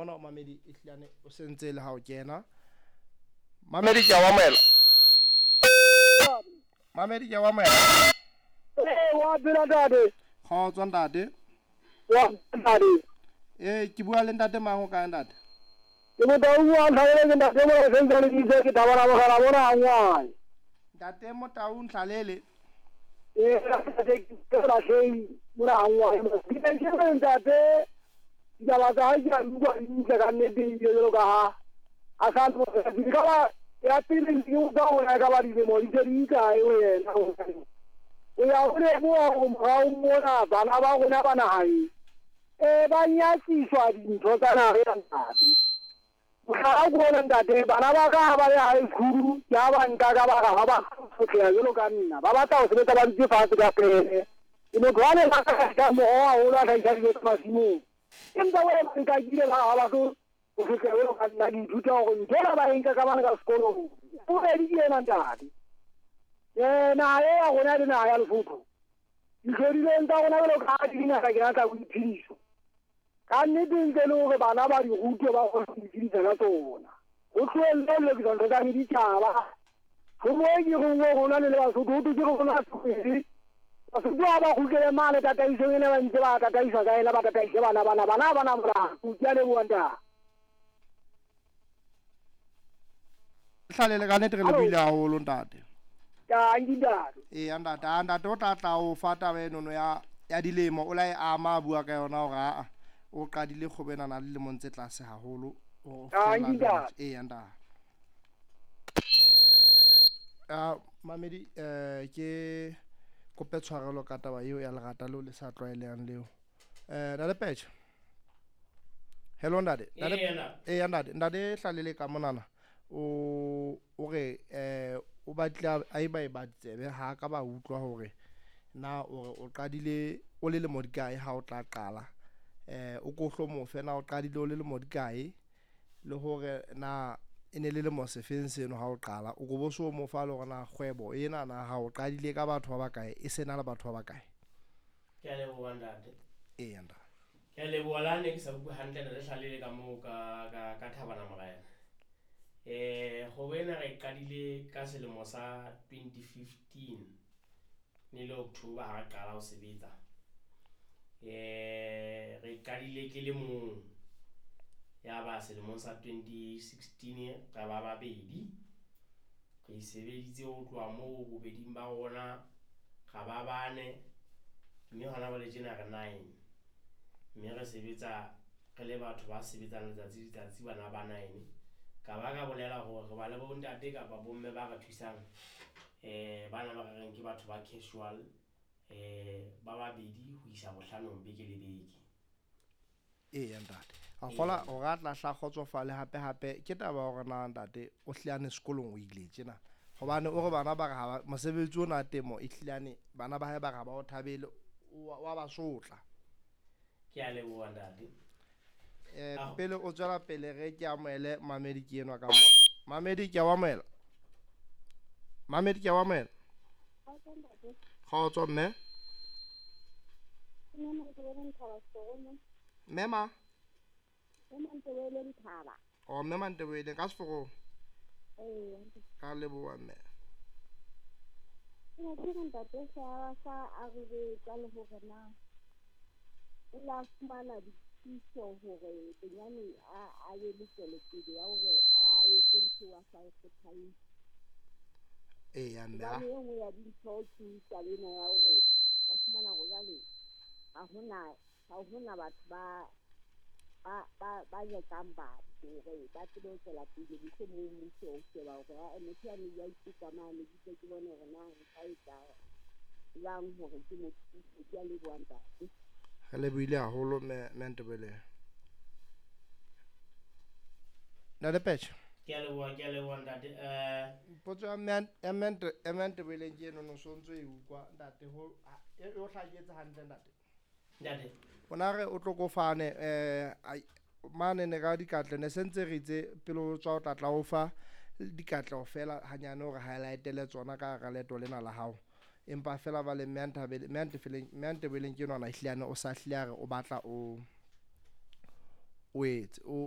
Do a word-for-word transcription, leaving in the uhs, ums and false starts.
bona mamedi e hlilane o sentse le ha o kena. Mamedi ke a wa moela. Mamedi ke a wa moela. Eh wa phela ntate. Kgotso ntate. Wa ntate. Eh ke bua le ntate mang o kae ntate? Ke Motau wa Ntlhalele ke ntate mo sentse le ditse ke thabana mogala bona a ngwae. Ntate Motau Ntlhalele. Eh ntate ke la hlei mona a ngwae. Ke ke ntate ditaba tsa hae ke a di utlwa di ntle ka nnete ebile jwalo ka ha a sa ntse ka ba ya pele ke utlwa hore ka ba dilemo di se di kae ho yena. O ya ho leboha hore morao mona bana ba rona ba naheng eh ba nyatsiswa dintho tsa naha ya ntate. Mohlala ke ona ntate, bana ba ka ha ba le high school ke ha ba nka ka ba ga ba sotleha jwalo ka nna. Ba batla ho sebetsa ba dutse fatshe ka pele. Ke motho wa le ka moroho haholo a hlahisa dijo tsa masimong. Empa wena ba nkakile ba ha ba tlo ho sotleha jwalo ka nna. Ke ithuta hore ntho ena ba e nka ka bana ka sekolong. Bobedi ke ena ntate. Eh naha e ya rona le naha ya Lesotho. Dihlodileng tsa rona jwalo ka ha di dingata ke tsa boiphediso. Ka nnete ntle le hore bana ba di rutwe ba kgone ho iphedisa ka tsona. Ho tlohelle ho lokisa ntho tsa meditjhaba. Ho mo e ke reng rona le le Basotho ho thwe ke rona pele. Basotho ha ba kgutlele mane tataisong ena ba ntse ba tataiswa ka ena ba tataise bana bana bana ha bana molato. Ke a leboha ntate. Hlalele ka nnete re lebohile haholo ntate. Tanki ntate. Eya ntate, a ntate o tla tla o fa taba enono ya ya dilemo o la e ama a bua ka yona hore aa o qadile kgwebo ena na le dilemong tse tlase haholo. Tanki ntate. Eya ntate. Ah mamedi eh ke kope tshwarelo ka taba eo ya lerata leo le sa tlwaelehang leo. Eh ntate Peche. Hello ntate. Ntate. Eya ntate, ntate Hlalele ka monana. O o re eh o batla a e ba e ba tsebe ha ka ba utlwa hore na o re o qadile o le lemo di kae ha o tla qala. Eh o ko hlomo fe na o qadile o le lemo di kae le hore na e ne le lemo sefeng seno ha o qala. O ko bo so mo fa le hore na kgwebo ena na ha o qadile ka batho ba bakae e sena le batho ba bakae. Ke a leboha ntate. Eya ntate. Ke a leboha la ne ke sa utlwe hantle ntate Hlalele ka moo ka ka ka Thabana Morena. Eh kgwebo ena re qadile ka selemo sa twenty fifteen ne le October ha re qala ho sebetsa. Eh re qadile ke le mong ya ba selemong sa twenty sixteen ra ba babedi. Re sebeditse ho tloha moo bobeding ba rona ra ba bane mme hona jwale tjena re nine. Mme re sebetsa re le batho ba sebetsang letsatsi letsatsi bana ba nine. Ka ba ka bolela hore re ba le bontate kapa bomme ba re thusang eh bana ba re reng ke batho ba casual eh ba babedi ho isa bohlanong beke le beke. Eya ntate. A kgola o ra tla hla kgotsofale hape hape ke taba hore na ntate o hlilane sekolong o ile tjena. Hobane o re bana ba re ha mosebetsi ona temo e hlilane bana ba hae ba re ha ba o thabele wa ba sotla. Ke a leboha ntate. Eh pele o tswela pele re ke amohele mamedi ke enwa ka mo. Mamedi ke a amohela. Mamedi ke a amohela. Kgotso mme. Mme ma. Oh mme Mantebele ka Seforo. Eh. Ka leboha mme. Ke ne ke re ntate sa sa a re tsa le hore na o la fumana dithuso hore bonyane a a ye le tswelopele ya hore a etse ntho a sa e kgothaletse. Eya mme. Hobane e nngwe ya dintho ke taba ena ya hore ba fumana hore jwale ha hona ha hona batho ba ba ba ba jetsang batho hore ba tsebe ho tswela pele mohlomong mmuso o sheba hore ha motho yane ya ikutlwa mane ke ke bone hore na nka etsa jwang hore ke mo thuse. Ke a leboha ntate. Re lebohile haholo mme mme Ntebele. Ntate Peche. Ke a leboha, ke a leboha ntate. Eh potso ya mme ya mme ya mme Ntebele ke eno no sontso e utlwa ntate ho e o hlaketse hantle ntate. Ntate. Ona re o tlo kofane eh mane ne ka dikatle ne sentse re itse pele o tswa o tla tla o fa dikatleho fela hanyane hore highlightele tsona ka hara leeto lena la hao. Empa fela ba le mme Nthabele mme Ntefeleng mme Ntebeleng ke nwana hlilane o sa hlile a re o batla o o etse o